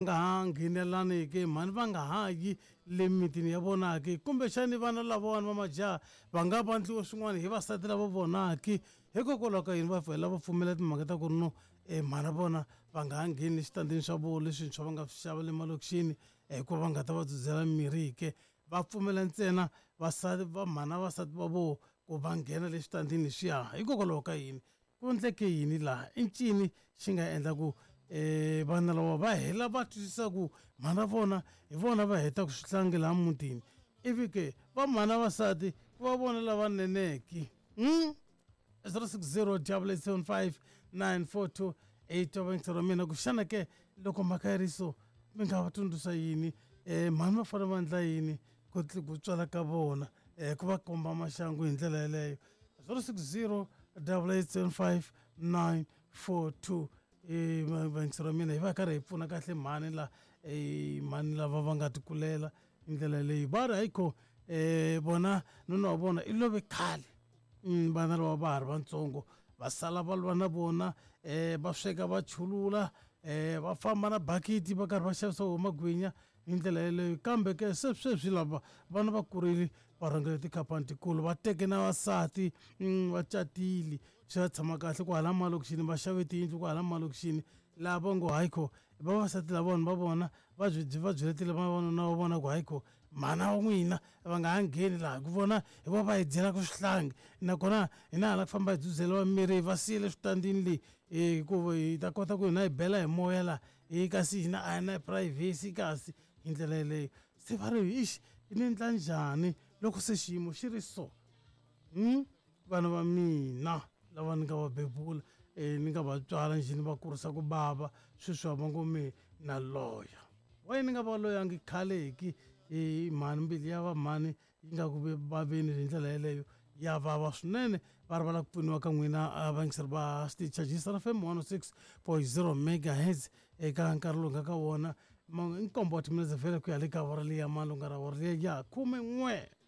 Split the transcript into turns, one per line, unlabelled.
Nga ha nghenelaniki, mhani va nga ha yi le mimitini ya vona ke? Kumbexani vana lavawani va majaha va nga vandliwa swin'wana hi vasati lava vona ke? Hikokwalaho ka yini va vhela va pfumela timhaka ta ku ri no e mhana vona va nga ha ngheni eswitandini swa vona leswintshwa va nga swi xava le malokixini hikuva va nga ta va dzudzela mimirhi ke? Va pfumela ntsena vasati va mhana vasati va vona ku va nghena le switandini leswiya. Hikokwalaho ka yini? Ku endleke yini laha? I ncini xi nga endla ku um vana lava va hela va twisisa ku mhana vona hi vona va hetaka swihlangi laha mutini ivi ke va mhana vasati ku va vona lava neneke hmm? 060 875 942 8 wa vayingiseri wa mina ku xana ke loko mhaka yi ri so mi nga va tsundzuxa yini um mhani va fanele va endla yini ku ku tswala ka vona um ku va komba maxangu hi ndlela yeleyo 060 875 942 vayingiseri wa mina hi va hi karhi hi pfuna kahle mhani la mhani lava va nga tikulela hi ndlela leyi va ri hayikho um vona nuna wa vona i love khale vana lava va ha ri vatsongo va sala va lwa na vona um va sweka va chulula um va famba na bakiti va karhi va xavisa wo magwinya hi ndlela yeleyo kambe ke se sweswi lava vana va kurile va rhangele tikhampani tikulu va teke na vasati va catile swi va tshama kahle kwahala malokixini va xave tiyindlu kwahala malokixini laha va ngo hayikho vavasati lavawani va vona va byi va byeletile vavanuna va vona ku hayikho mhana wa n'wina va nga ha ngheni laha hi ku vona hi va va hi dyelaka swihlangi nakona hina hala ku famba hi dzudzeliwa miri va siyele switandini leyi hikuva hi ta kota ku hina hi bela hi moya laha hi kasi hina a hi na privacy kasi hi ndlela yeleyo se va ri ixi ni endla njhani loko se xiyimo xi ri so vana va mina lava ni nga va bebula ni nga va tswala njhe ni va kurisa ku bava sweswi va ngo me na loya why ni nga va loyangi khale ki hi mhani mbilu ya va mhani yi nga ku vaveni hi ndlela yeleyo ya vava swinene va ri va lava ku pfuniwa ka n'wina vayingiseri va xitichi xa Gisela FM 106.0 megahertz eka nkarhi lowu nga ka wona i nkombo wa timinetse vhele ku ya le ka awara leyi ya malunga ra awara leyi ya khumen'we.